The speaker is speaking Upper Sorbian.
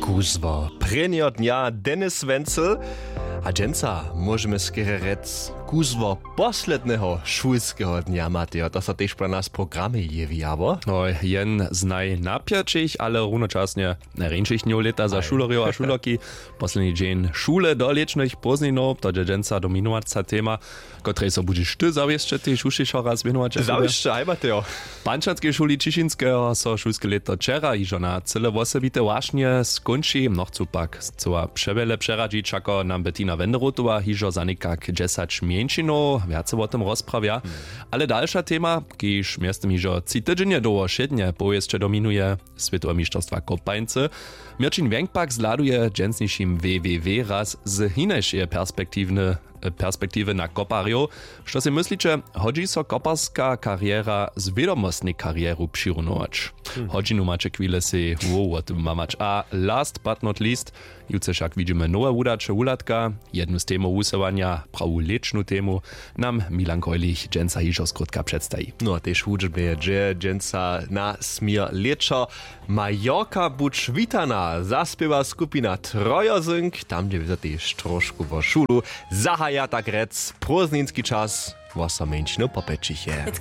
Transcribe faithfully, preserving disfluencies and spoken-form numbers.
Kuzło prěnjeho dnja, Dennis Wenzel. A dźensa móžemy skerje rjec, kuzło posledneho šulskeho dnja, Matejo, to so tež po nas w programje jewi, abo? No, jen z najnapjaćich, ale runočasnje najrjeńšich dnjow lěta za šulerjow a šulerki. Posledni dźeń šule do lěćnych pózdninow, to dźe dźensa dominowaca tema, kotrej so budźeš ty zawěsće tež hušćišo raz wěnować. Zawěsće, haj, Matejo. W pančanskej šuli Ćišinskeho so šulske lěto wčera hižo na cyle wosebite wašnje skónči. Mnochcu pak chcyła přewjele přeradźić, wšako nam Bettina Wenderotowa hižo za někak dźesać mjeńšinow wjace wo tym rozprawja. Ale dalša tema, kiž mjeztym hižo tři tydźenje dołho wšědnje powěsće dominuje, swětowe mišterstwa kopańcy. Měrćin Wjenk pak zhladuje w dźensnišim www raz z hinašeje perspektiwny perspektiwy na koparjow. Što sej mysliće, hodźi so koparska kariera z wědomostnej karieru přirunować? Hodźinu maće chwile sej wow wo tym mamać. A last but not least, jutře wšak widźimy nowe wudaće wuhladka. Jednu z temow wusyłanja, prawu lěćnu temu, nam Milan Greulich dźensa hižo skrótka předstaji. No a tež hudźbnje dźe dźensa na směr lěćo. Majorka, budź witana, zaspěwa skupina Trojozynk, tam dźe wězo tež trošku wo šulu. Zahaja tak rjec prózdninski čas, wosomjeńšinu po pjećichje.